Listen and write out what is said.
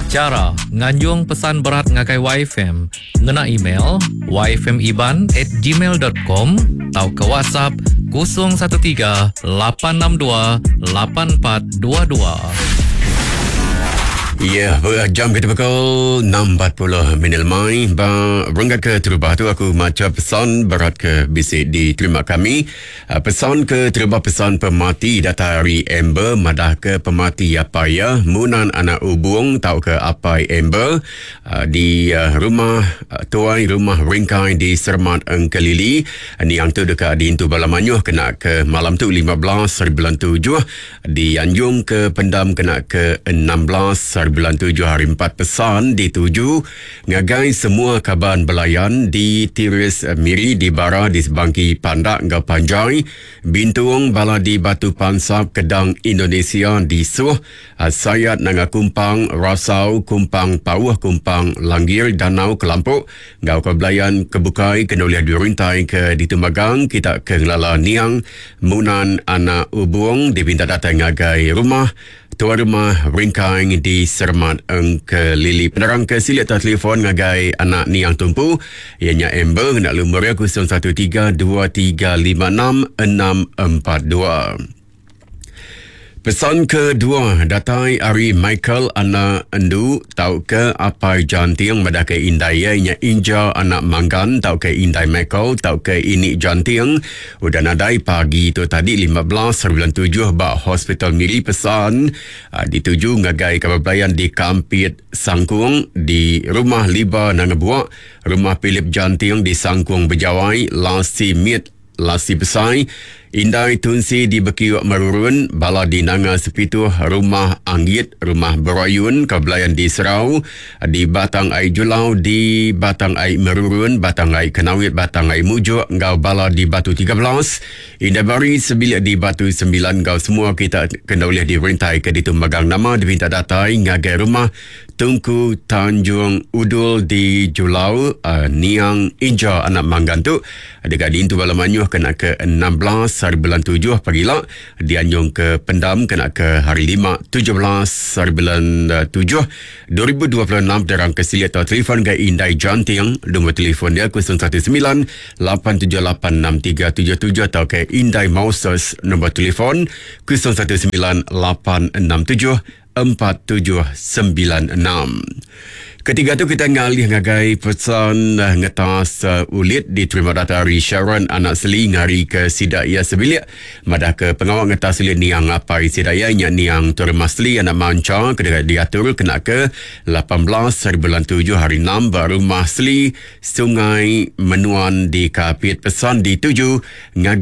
Chara nganjung pesan berat ngagai YFM ngena email yfmiban@gmail.com tauka WhatsApp 013 862 8422. Ya, yeah, jam kita pukul 6.40 minit lemai. Ba renggat ke terubah tu aku macha pesan berat ke bisi diterima kami. Ah, pesan ke terubah pesan pemati datai ari Amber madah ke pemati apai iya Munan anak Ubung tauka apai Amber ah, di ah, rumah tuai rumah Ringkai di Sermat Engkelili. Niang tu deka diintu bala mayuh kena ke malam tu 15 hari bulan 7 dianjung ke pendam kena ke 16 hari bulan 7 hari 4 pesan dituju Ngagai semua kaban belayan di Tiris Miri di Bara di Sebangki Pandak enggau Panjai, Bintung bala di Batu Pansap Kedang Indonesia di Suh, Sayat Nanga Kumpang, Rasau, Kumpang Pauh, Kumpang Langgir, Danau Kelampok enggau kaban belayan ke bukai ke enda ulih dirintai ke ditu magang kita ke ngelala niang Munan Anak Ubung dipinta datai ngagai rumah Tuai Rumah Ringkai di Sermat Engkelili. Penerang ke silik tau telefon ngagai anak niang tumpu iya nya Amber ngena lumur iya 013 2356 642. Pesan kedua datai ari Michael anak Endu tauka apai Janting madahka indai iya nya Inja anak Manggan tauka indai Michael tauka ini Janting Udah nadai pagi tu tadi 15 bulan 7 ba Hospital Miri pesan ah, dituju ngagai kaban belayan di Kampit Sangkung di Rumah Liba Nanga Buak, Rumah Philip Janting di Sangkung Bejawai, Lasi Mit Lasi Besai, Indai Tunsi di Bekiuk Merurun, bala di Nanga Sepituh, Rumah Anggit, Rumah Berayun, kaban belayan di Serau, di Batang Ai Julau, di Batang Ai Merurun, Batang Ai Kenawit, Batang Ai Mujuk enggau bala di Batu 13, Indai Bari sebilik di Batu 9 enggau semua kita kena ulih dirintai ke ditu magang nama dipinta datai ngagai rumah Tungku Tanjung Udul di Julau, uh, Niang Inja anak Manggan tu deka diintu bala mayuh kena ke 16 hari bulan 7 pagila dianjung ke pendam kena ke hari 5 17 hari bulan 7 2026 terang ke silik atau telefon ke Indai Janting nombor telefon dia 019 878 6377 atau ke Indai Moses nombor telefon 019 867 4796. Ketiga tu kita ngalih ngagai pesan eh, ngetas uh, ulit diterima data ari Sharon anak Seli ngari ke sida ia sebilik madah ke pengawa ngetas ulit niang apai sida ia nya niang Tuan Masli anak Mancha ke deka diatur kena ke 18 hari bulan 7 hari 6 ba rumah Seli Sungai Menuan di Kapit pesan dituju ngagai.